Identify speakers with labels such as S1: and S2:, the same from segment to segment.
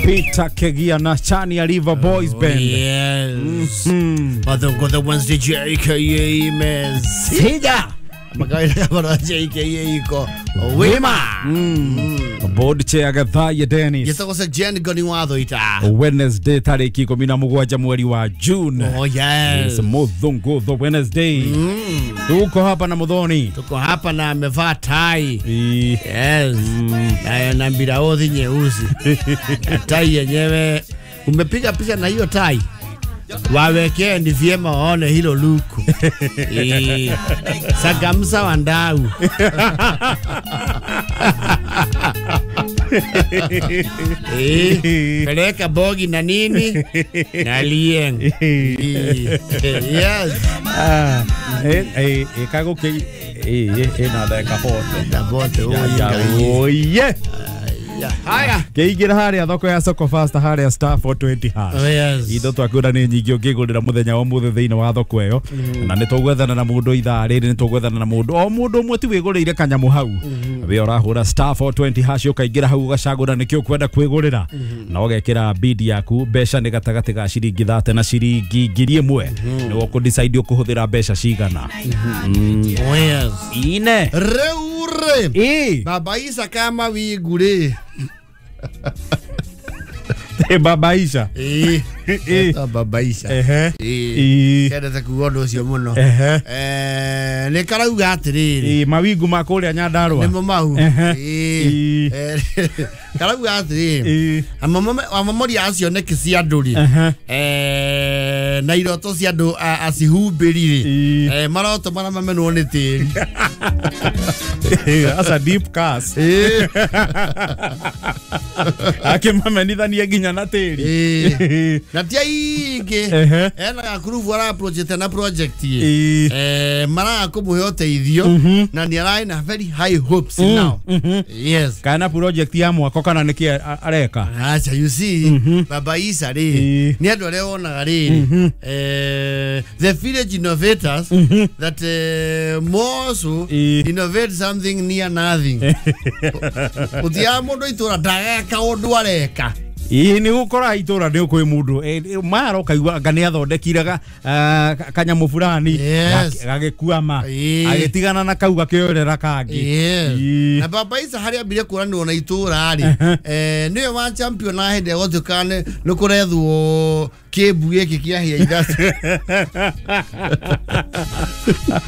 S1: Peter Kegia na Chania River Boys Band.
S2: Yes. Mathungutho Wednesday JKA Mesija. Makawaida kama JKA iko wima.
S1: Board chair Gathaya Dennis.
S2: Yetagwo Jen Goni watho ita.
S1: Wednesday tariki 17 mweri wa June.
S2: Oh yes.
S1: Muthungutho Wednesday. Tuko hapa na Muthoni.
S2: Tuko hapa na amevaa tai. Yes. Na mbiraothi nyeusi. Tai yenyewe umepiga picha na hiyo tai. Wawekee ni vyema waone hilo luku. Sagamsa wandau. Peleka bogi na nini na lieng. Yes.
S1: Kago ke na dakika 40.
S2: Na bote
S1: oye.
S2: Haya.
S1: Keigira haria thoko ya Soko Fast haria star 420 hash.
S2: Oh, yes.
S1: Indo twakura ni nyingi ũngĩgũrĩra mũthenya wa mũthĩ thĩinĩ wa thoko ĩyo. Na nĩ tũgwethana na mũndũ ithaa rĩrĩ, nĩ tũgwethana na mũndũ o mũndũ ũmwe ti wĩgũrĩire kanyamũ hau. We ũrahũra star 420 hash ũkaingĩra hau ũgacagũra nĩkĩ ũkwenda kwĩgũrĩra. Na ũgekĩra bid yaku, mbeca nĩ gatagatĩ ga ciringi 30 na ciringi 1000. Nĩ ũkũ decide ũkũhũthĩra mbeca cigana.
S2: Oh, yes.
S1: Ine.
S2: Reure. Baba Isa kama wigure.
S1: Baba Isa.
S2: Baba Isa. Kendete kuga ũndũ ũcio mũno. Nĩ karauga atĩrĩrĩ.
S1: Mawingu ma kũrĩa Nyandarũa.
S2: Nĩmo mau. Karauga atĩrĩrĩ. Amamori acio nĩkĩ cia andũ rĩ. Na iroto cia andũ acihumbĩri rĩ. Maroto marĩa mamenwo nĩ tĩri.
S1: That's a deep curse. Akĩmamenithania nginya na tĩri.
S2: Na ti aingĩ ena gakurubu ara project na project maraga kũmũhe ũteithio na nĩ ararĩ na very high hopes now. Yes.
S1: Kana project ya mwako kana nĩkĩ areka?
S2: Acha, you see, Baba Isa rĩ nĩ andũ arĩa wonaga rĩ the village innovators that more so innovate something near nothing. Ũthiaga mũndũ itũra ndageka ũndũ areka.
S1: Ĩĩ nĩ gũkora itũra nĩ kwĩ mũndũ mara ũkaigua anga nĩ athondekire kanyamũ fulani gagĩkuama agĩtigana na kau gakĩoerera kangĩ.
S2: Na Baba Isa harĩa ambire kũranĩrwo na itũra rĩ nĩwe wa champion na hĩndĩ ĩrĩa gũtuĩkaga nĩ kũrethwo kĩmbu gĩkĩ kĩa hĩa ithatũ.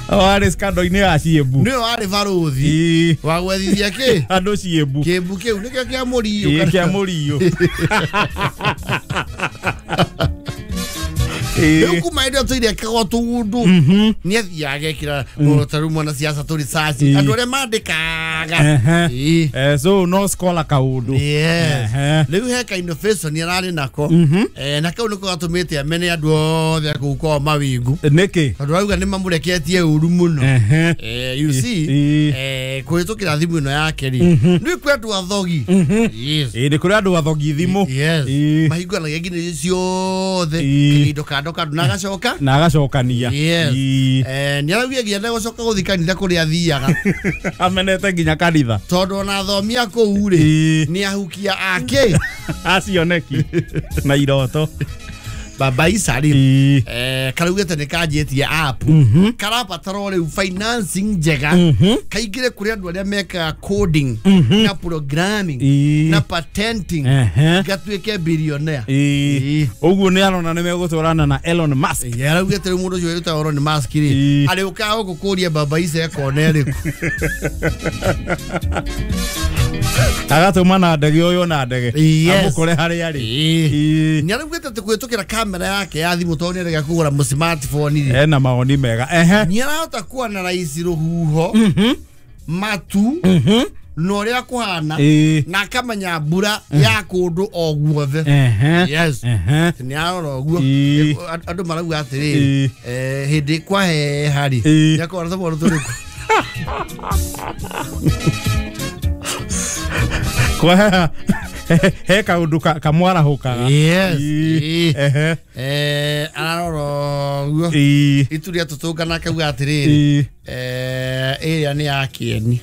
S1: Warĩ scandal-inĩ ya ciĩmbu.
S2: Nĩwe warĩ barũthi wa gwethithia kĩ
S1: andũ ciĩmbu.
S2: Kĩmbu kĩu nĩkĩo kĩa mũriũ.
S1: Kĩa mũriũ.
S2: Rĩu kuma hĩndĩ ĩyo tũire kagwo tũndũ nĩ athiaga agekĩra ta rĩu mwanasiasa tũrĩ search andũ arĩa mandĩkaga.
S1: So no scholar kaũndũ.
S2: Yes. Rĩu he ka innovation ararĩ nako na kau nĩko gatũmĩte amene andũ othe kũu kwao mawingu.
S1: Nĩkĩ?
S2: Tondũ arauga nĩ mamũreketie ũru mũno. You see, kũhĩtũkĩra thimũ ĩno yake rĩ nĩ kwĩ andũ athogi. Yes.
S1: Nĩ kũrĩ andũ athogi thimũ.
S2: Yes. Mahingũranagia nginya ciothe kĩindo kando kando na agacoka
S1: na agacokania.
S2: Yes. Nĩ araugia nginya ndegũcoka gũthiĩ kanitha kũrĩa athiaga.
S1: Amenete nginya kanitha
S2: tondũ ona athomi a kũu rĩ nĩ ahukia ake
S1: acioneki na iroto.
S2: Baba Isa rĩ karaugĩte nĩ kanjĩtie app karabatara rĩu financing njega kaingĩre kũrĩ andũ arĩa mekaga coding na programming na patenting gatuĩke billionaire.
S1: Ũguo nĩ arona nĩ megũtwarana na Elon Musk.
S2: Araugĩte rĩu mũndũ ũcio wĩtagwo Elon Musk rĩ arĩũkaga gũkũ kũria Baba Isa ekona ĩrĩkũ.
S1: Agatũma na ndege ũyũ na ndege amũkore harĩa arĩ.
S2: Nĩ araugĩte atĩ kũhĩtũkĩra kamera yake ya thimũ tondũ nĩ arega kũgũra mũ smartphone rĩ
S1: ena mawoni mega.
S2: Nĩ arahota kuanalyze rũhuho matu na ũrĩa kũhana na akamenya mbura ya kũndũ o guothe. Yes. Nĩ arora ũguo andũ marauga atĩrĩrĩ hĩndĩ kwaheha rĩ nĩ akorwo na tũmwana tũrĩkũ.
S1: Kwa he kaundu kamwarahũkaga.
S2: Yes. Ararora ũguo itu rĩa tũtũngana akauga atĩrĩrĩ ĩrĩa nĩ ya kĩeni.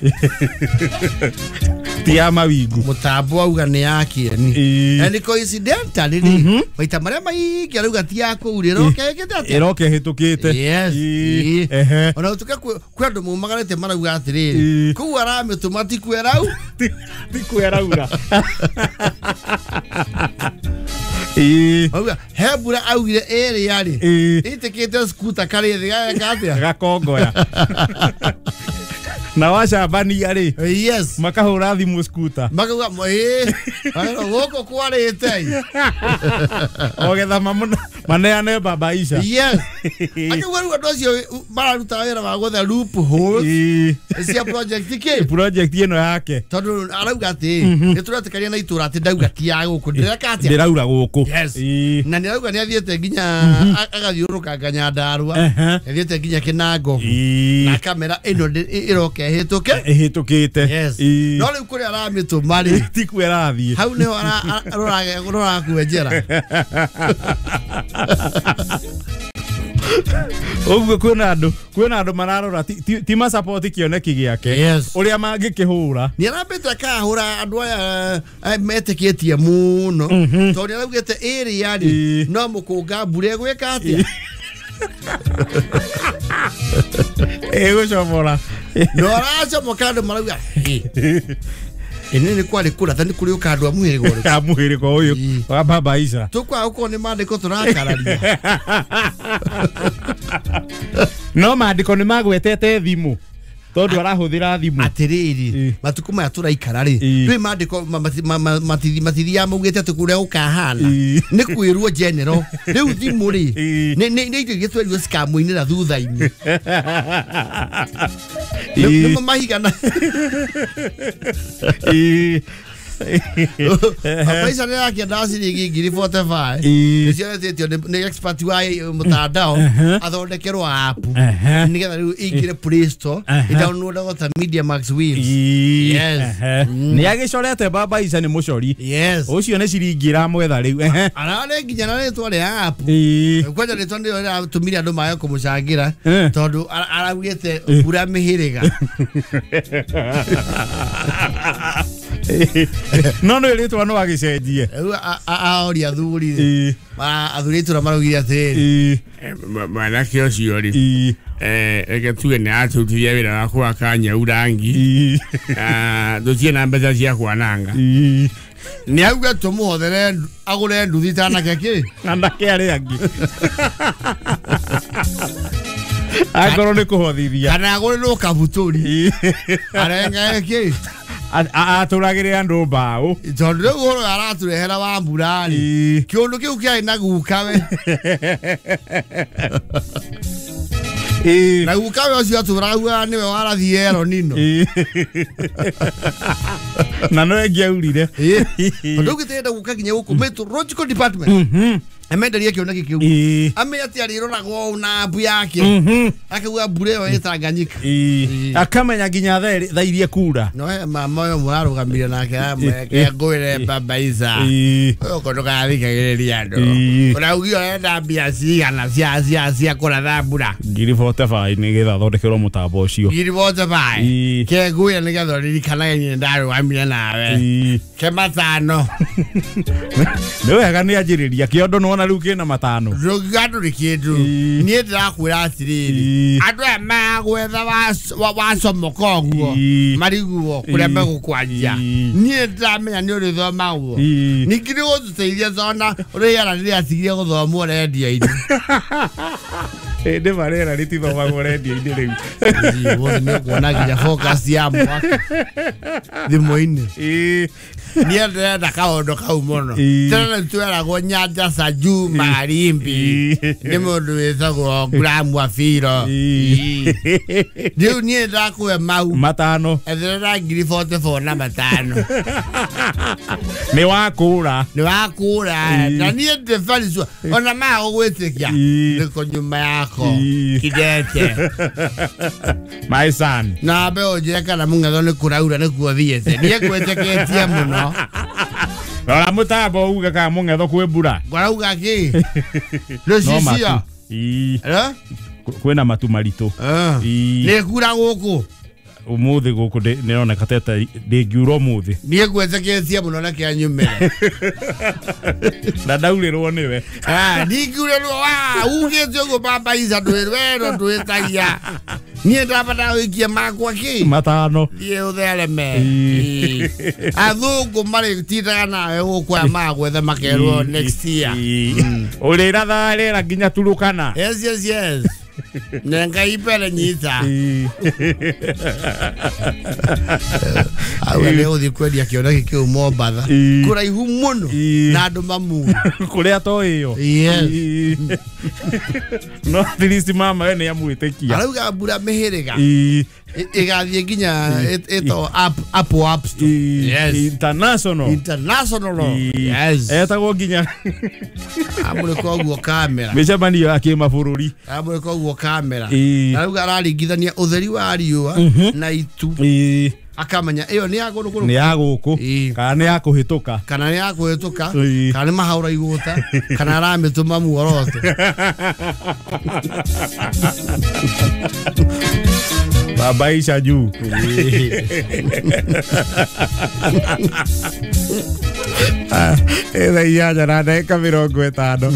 S1: Ti ya mawingu.
S2: Mutambo auga nĩ ya kĩeni. And coincidentally rĩ, maita marĩa maingĩ arauga ti ya kũu rĩ, ĩroka ĩkĩte atĩa?
S1: Ĩroka ĩhĩtũkĩte.
S2: Yes.
S1: Ehe.
S2: Ona gũtuĩka kwĩ andũ maumagarĩte marauga atĩrĩrĩ, kũu aramĩtũma ti kwĩrau.
S1: Ti kwĩraura.
S2: Auga he mbura augire ĩrĩa rĩ, ĩtĩkĩte skuta karĩ thĩ gageka atĩa?
S1: Gakongoya. Na wacambania rĩ.
S2: Yes.
S1: Makahũra thimũ skuta.
S2: Makauga ĩĩ, gũkũ kwarĩte.
S1: Ogetha maneane baba Isha.
S2: Yes. Akauga rĩu andũ acio mararuta wĩra wa gwetha loopholes cia project kĩ?
S1: Project ĩno yake.
S2: Tondũ arauga atĩ nĩ tũretĩkania na itũra atĩ ndauga ti ya gũkũ, ndĩreka atĩa?
S1: Ndĩraura gũkũ.
S2: Yes. Na nĩ arauga nĩ athiĩte nginya agathiũrũrũkanga Nyandarua, athiĩte nginya Kĩnango. Na kamera ĩno ĩroka ĩhĩtũke.
S1: Ĩhĩtũkĩte.
S2: Yes. No rĩu kũrĩa aramĩtũma rĩ,
S1: ti kuo ĩrathiĩ.
S2: Hau nĩho rũrakwenjera.
S1: Ũguo kwĩna andũ mararora ti masupport kĩoneki gĩake.
S2: Yes.
S1: Ũrĩa mangĩkĩhũra.
S2: Nĩ arambĩte akahũra andũ aya metĩkĩtie mũno. Tondũ nĩ araugĩte ĩrĩa rĩ, no mũkũnga mbura ĩgwĩka atĩa?
S1: Ĩgũcomora.
S2: No aracomoka andũ marauga ĩnĩ nĩ kwarĩ kũratha nĩ kũrĩ ũka andũ a mũhĩrĩga ũrĩkũ?
S1: A mũhĩrĩga ũyũ wa baba Isha.
S2: Tũkwaga gũkorwo nĩ maandĩko tũrakararia.
S1: No maandĩko nĩ magwetete thimũ. Tondũ arahũthĩra thimũ.
S2: Atĩrĩrĩ, matukũ maya tũraikara rĩ, kwĩ maandĩko matithiaga maugĩte atĩ kũrĩa gũkahana. Nĩ kwĩrwo general. Rĩu thimũ rĩ, nĩ indo iria twerirwo cikamũinĩra thutha-inĩ. Nĩmo mahiga na Maica nĩ arakĩenda ciringi ngiri 45. Nĩcio etĩtio nĩ expert wa mtandao athondekerwo app nĩgetha rĩu ĩingĩre Play Store ĩdownloadagwo ta Media Max Waves. Yes.
S1: Nĩ agĩcorete baba Isha nĩ mũcori.
S2: Yes.
S1: Ũcio nĩ ciringi ĩramwetha rĩu.
S2: Ararĩ nginya na rĩtwa rĩa app. Kwanja rĩtwa nĩrĩo rĩratũmire andũ mage kũmũcangĩra tondũ araugĩte mbura mĩhĩrĩga.
S1: No no rĩtwa no agĩcenjie.
S2: Rĩu aoria athuri athuri itũra maraugire atĩrĩrĩ,
S3: mwanake ũcio rĩ, reke tuge nĩ atũrutithia wĩra wa gwaka nyau rangi, tũtirĩ na mbeca cia kwananga.
S2: Nĩ auga tũmũhothere agũre nduthi ta anake kĩ?
S1: Anake arĩa angĩ. Akorwo nĩ kũhothithia.
S2: Kana agũrĩrwo kabutũri. Arengere kĩ?
S1: Atũragĩre andũ mbaũ.
S2: Tondũ rĩu ũhoro aratũrehera wa mbura rĩ, kĩũndũ kĩu kĩarĩ na gukawe. Na gukawe ũcio atũraugaga nĩwe warathiĩ El Nino.
S1: Na no ĩngĩaurire.
S2: Tondũ ũgĩtĩenda gũka nginya gũkũ meteorological department. Amenderie kĩoneki kĩu. Amenye atĩ arĩroragwo na app yake. Akauga mbura ĩyo ĩ Tanganyika.
S1: Akamenya nginya thaa iria kura.
S2: No he mama ũyũ mũrarũgamire nake amweke ngwĩre baba Isha. Ũyũ ndũgathikagĩrĩria andũ. Ũraugire ũrenda mbia cigana cia kũratha mbura?
S1: Ngiri 45 nĩgetha athondekerwo mũtambo ũcio.
S2: Ngiri 45. Ke ngwĩre nĩgetha ũririkanage niĩ ndarũgamire nawe. Ke matano.
S1: Nĩ wega nĩ anjĩrĩria kĩondo nĩwona rĩu kĩna matano.
S2: Ndũngiuga ndũrĩ kĩndũ. Niĩ ndĩrakwĩra atĩrĩrĩ, andũ aya magwetha wacomoka ũguo mariguo kũrĩa megũkwanjia. Niĩ ndĩramenya nĩ ũrĩthomagwo. Ningĩ nĩ gũtũteithia tondũ rĩera rĩrĩatigire gũthomwo rendio-inĩ.
S1: Ĩndĩ ma rĩera rĩtithomagwo rendio-inĩ rĩu.
S2: Wothe nĩ ũkuona nginya forecast ya mwaka thimũ-inĩ. Niĩ ndĩrenda kaũndũ kau mũno. Tene tweragwo Nyanja za Juu Magharibi nĩ mũndũ wĩtagwo Graham Wafiro. Rĩu niĩ ndakũhe mau
S1: matano.
S2: Etherera ngiri 44 na matano.
S1: Nĩ wakũra.
S2: Nĩ wakũra. Na niĩ ndĩ very sure ona maga gũgwĩtĩkia nĩko nyuma yako kidete.
S1: My son.
S2: Na mbe ũnjĩre kana mũng'etho nĩ kũraura nĩkuo thiĩte. Niĩ ngwĩtĩkĩtie mũno.
S1: Rora mũtambo uge kana mũng'etho kwĩ mbura.
S2: Ngwarauga kĩ? Rũcicio.
S1: Kwĩna matu maritũ.
S2: Nĩ kura gũkũ.
S1: Umuthi guku ndironeka teta ndingiura umuthi.
S2: Niĩ ngwetĩkĩtie mũno na kĩa nyumĩre.
S1: Na ndaurĩrwo nĩwe.
S2: Ndingiurĩrwo wa ugĩte ũguo baba Isa ndwĩrwo ndwĩtagia. Niĩ ndabata wĩkie makwa kĩ?
S1: Matano.
S2: Thiĩ ũthereme. Athũngũ marĩtindaga nawe gũkũ aya magwetha makerwo next year.
S1: Ũrĩrathaga rĩera nginya Turukana.
S2: Yes, yes, yes. Nenga ipele nyita. Awe leo ũthiĩ kwendia kĩoneki kĩu Mombatha. Kũraihu mũno na andũ mamu.
S1: Kũrĩa to ĩyo.
S2: Yes.
S1: No at least mama we nĩ amwĩtĩkia.
S2: Arauga mbura mĩhĩrĩga. Ĩgathiĩ nginya ĩtagwo Apple App Store. Yes.
S1: International.
S2: International. Yes.
S1: Etagwo nginya
S2: amũrĩka ũguo kamera.
S1: Mĩcemanio ya kĩmabũrũri.
S2: Amũrĩka ũguo kamera. Arauga araringithania ũtheri wa riũa na itu. Akamenya ĩyo nĩ ya kũndũ kũrũ.
S1: Nĩ ya gũkũ kana nĩ ya kũhĩtũka.
S2: Kana nĩ ya kũhĩtũka kana nĩ mahaũra igũta kana aramĩtũma muoroto.
S1: Baba Isha juu. Thaa inyanya na ndagĩka mĩrongo ĩtano.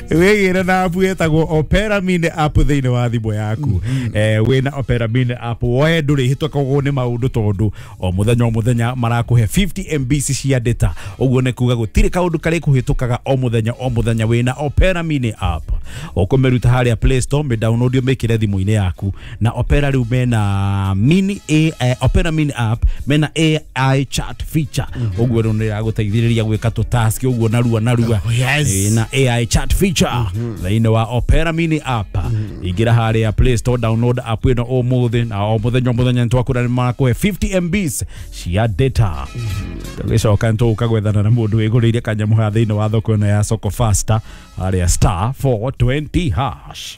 S1: Wĩgĩre na app ĩtagwo Opera Mini app thĩinĩ wa thimũ yaku. Wĩna Opera Mini app we ndũrĩhĩtũkagwo nĩ maũndũ tondũ o mũthenya marakũhe 50 MB cia data. Ũguo nĩ kuga gũtirĩ kaũndũ karĩ kũhĩtũkaga o mũthenya wĩna Opera Mini app. Ũkũmĩruta harĩa Play Store, mĩ-download ũmĩkĩre thimũ-inĩ yaku. Na Opera rĩu mena mini Opera Mini app mena AI chat feature. Ũguo rĩu nĩ ĩragũteithĩrĩria gwĩka tũ task ũguo narua.
S2: Yes.
S1: Na AI chat feature thĩinĩ wa Opera Mini app. Ingĩra harĩa Play Store, download app ĩno ũmũthĩ na o mũthenya nĩtwakũra nĩ marakũhe 50 MB cia data. Tũgĩcoka nĩtũgũka gwethana na mũndũ wĩgũrĩire kanyamũ haha thĩinĩ wa thoko ĩno ya Soko Faster harĩa star 420 hash.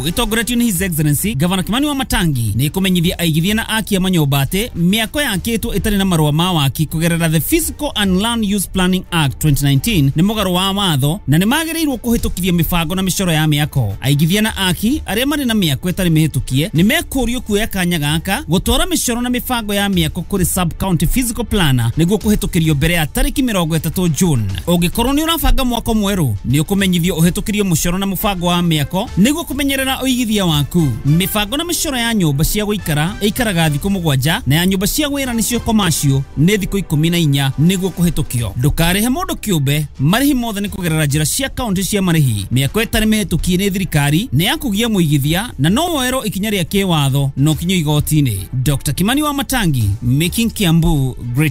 S4: Itongoretio nĩ His Excellency Governor Kimani wa Matangi nĩ kũmenyithia aigithia na aki a manyũmba atĩ mĩako yakĩtwo ĩtarĩ na marũa ma waki kũgerera the Physical and Land Use Planning Act 2019 nĩ mũgarũ wa watho na nĩ magĩrĩirwo kũhĩtũkithia mĩbango na mĩcoro ya mĩako. Aigithia na aki arĩa marĩ na mĩako ĩtarĩ mĩhĩtũkie nĩ mekũrio kuoya kanya gaka gũtwara mĩcoro na mĩbango ya mĩako kũrĩ sub county physical planner nĩguo kũhĩtũkĩrio mbere ya tarĩki 30 June. Ũngĩkorwo nĩ ũrabanga mwako mwerũ nĩ ũkũmenyithio ũhĩtũkĩrio mũcoro na mũbango wa mĩako nĩguo kũmenyerera ũigithia waku. Mĩbango na mĩcoro ya nyũmba cia gũikara ĩikaraga thikũ 7 na ya nyũmba cia wĩra nĩcio commercial nĩ thikũ 14 nĩguo kũhĩtũkio. Ndũkarĩhe mũndũ kĩũmbe, marĩhi mothe nĩ kũgerera njĩra cia kaunti cia marĩhi. Mĩako ĩtarĩ mĩhĩtũkie nĩ thirikari nĩ ya kũgia mũigithia na no woerwo ikinya rĩa kĩwatho no kinyo igoti-inĩ. Dr. Kimani wa Matangi, making Kiambu greater.